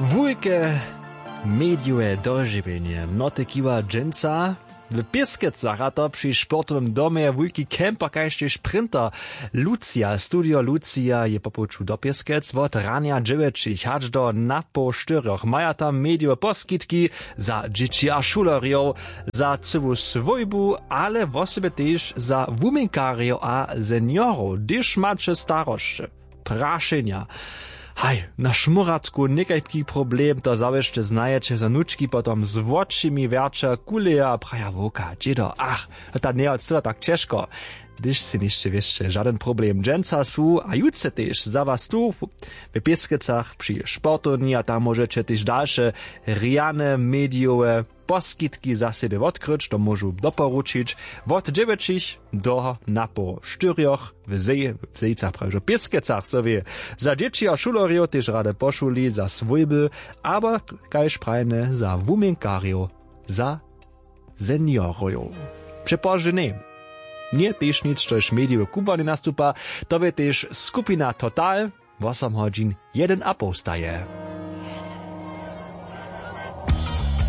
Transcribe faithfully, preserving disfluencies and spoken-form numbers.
Wulke medijowe dožiwjenje noty kiwa dźensa w Pěskecach, a to při sportowym domje wulki camper kaž tež sprinter. Lucija, studio Lucija je po połdźu do Pěskec. Wot ranja dźewjećich hač do napoł štyrjoch maja tam medijowe poskitki za dźěći a šulerjow, za cyłu swójbu, ale wosebje tež za wuměnkarjow a seniorow, hdyž maće starosće, prašenja, haj, na šmóratku někajki problem, to zawěsće znajeće, za nučki potom z wočimi wjerća kuleja a praja: „Wowka, dźědo, ach, ta njeje od styla tak ćežko.“ Hdyž sej něšće wěsće žadyn problem, dźensa su a jutře tež za was tu w Pěskecach při sportowni, a tam móžeće tež dalše rjane medijowe poskitki za sebje wotkryć, to móžu doporučić wot dźewjećich do napoł štyrjoch w Zej-, w Zejcach, prawie w Pěskecach, so wě, za dźěći a šulerjow, tež rady po šuli, za swójby, abo kaž prajene za wuměnkarjow, za seniorow. Přepozdźe ně. Nje tež nic, štož medijowe kubłanje nastupa, to wě tež skupina Total, wosom hodźin jedyn a poł staje.